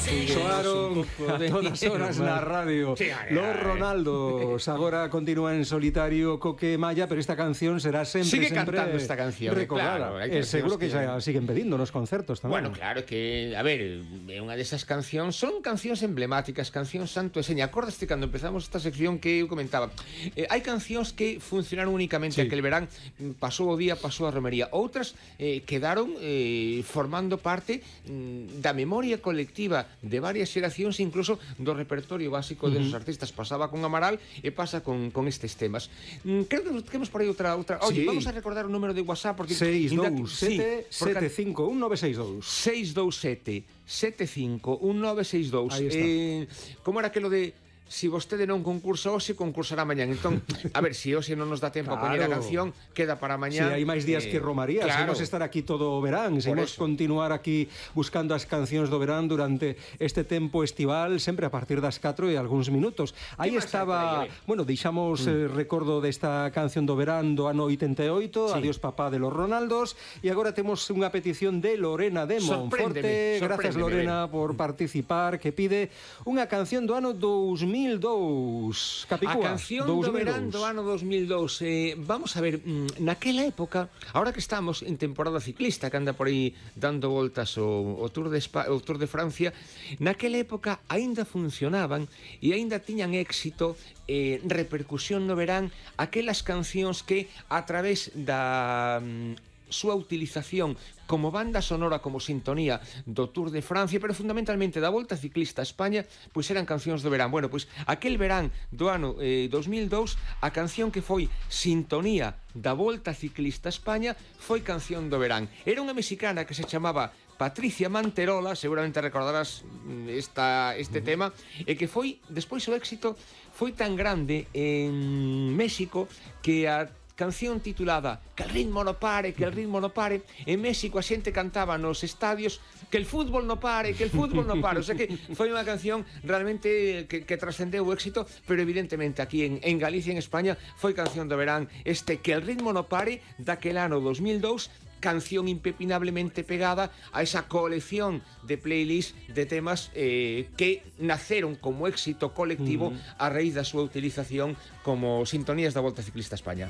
Soaron a todas horas na radio. Los Ronaldos agora continúa en solitario Coque Maya, pero esta canción será sempre cantando esta canción, recordada. claro, Seguro que xa siguen pedindo nos concertos tamén. Bueno, claro que, a ver, unha desas cancións son cancións emblemáticas, cancións santo e seña. Acordaste cando empezamos esta sección que eu comentaba, hai cancións que funcionaron únicamente aquel verán, pasou o día, pasou a romería. Outras quedaron formando parte da memoria colectiva de varias xeracións, incluso do repertorio básico desos artistas. Pasaba con Amaral e pasa con estes temas. Creo que temos por aí outra. Oye, vamos a recordar o número de WhatsApp porque 627-751-962 627-751-962. Como era aquilo de si vostede non concursa hoxe, concursará mañán. Entón, a ver, se hoxe non nos dá tempo a poñer a canción, queda para mañán. Si hai máis días que Romaría, claro. Seguimos estar aquí todo o verán, seguimos continuar aquí buscando as cancións do verán durante este tempo estival, sempre a partir das 4 e algúns minutos. Aí estaba, bueno, deixamos recordo desta canción do verán do ano 88, Adiós papá de los Ronaldos, e agora temos unha petición de Lorena de Monforte. Gracias, Lorena, por participar, que pide unha canción do ano 2002. Capicúa, a canción do verán do ano 2002. Vamos a ver, naquela época, ahora que estamos en temporada ciclista, que anda por aí dando voltas o Tour de Francia, naquela época aínda funcionaban e aínda tiñan éxito, repercusión no verán, aquelas cancións que a través da súa utilización como banda sonora, como sintonía do Tour de Francia, pero fundamentalmente da Volta Ciclista a España, pois eran cancións do verán. Bueno, pois aquel verán do ano 2002, a canción que foi sintonía da Volta Ciclista a España foi canción do verán. Era unha mexicana que se chamaba Patricia Manterola, seguramente recordarás este tema, e que foi, despois o éxito foi tan grande en México que a canción titulada Que el ritmo no pare, que el ritmo no pare, en México a xente cantaba nos estadios que el fútbol no pare, que el fútbol no pare. O sea que foi unha canción realmente que trascendeu o éxito, pero evidentemente aquí en Galicia, en España, foi canción do verán Que el ritmo no pare, daquel ano 2002, canción impepinablemente pegada a esa colección de playlist de temas que naceron como éxito colectivo a raíz da súa utilización como sintonías da Volta Ciclista a España.